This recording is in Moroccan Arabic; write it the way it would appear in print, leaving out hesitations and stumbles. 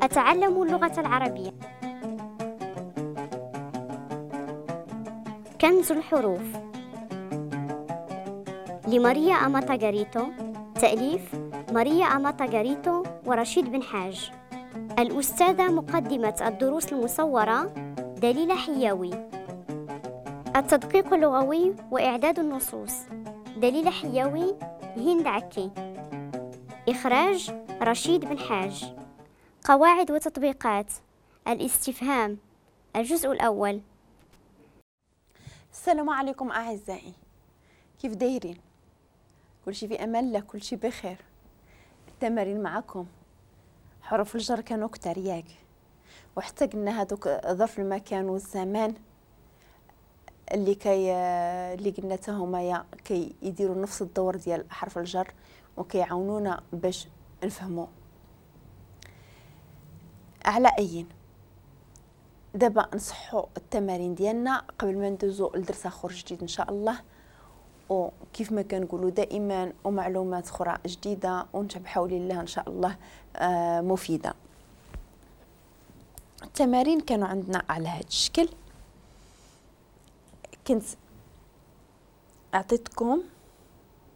أتعلم اللغة العربية. كنز الحروف لماريا أماتا غاريتو، تأليف ماريا أماتا غاريتو ورشيد بن حاج. الأستاذة مقدمة الدروس المصورة دليلة حياوي. التدقيق اللغوي وإعداد النصوص دليلة حياوي، هند عكي. إخراج رشيد بن حاج. قواعد وتطبيقات الاستفهام، الجزء الأول. السلام عليكم أعزائي، كيف دايرين؟ كلشي في أمان الله، كلشي بخير. التمارين معكم، حروف الجر كانوا كتار ياك، وحتى قلنا هذوك ظرف المكان والزمان اللي قلنا حتى هما يا كي يديروا نفس الدور ديال حرف الجر وكيعاونونا باش نفهموا. على أين دابا نصحوا التمارين ديالنا قبل ما ندوزو لدرس اخر جديد ان شاء الله، وكيف ما كنقولوا دائما ومعلومات اخرى جديده وانت بحول الله ان شاء الله مفيده. التمارين كانوا عندنا على هذا الشكل، كنت اعطيتكم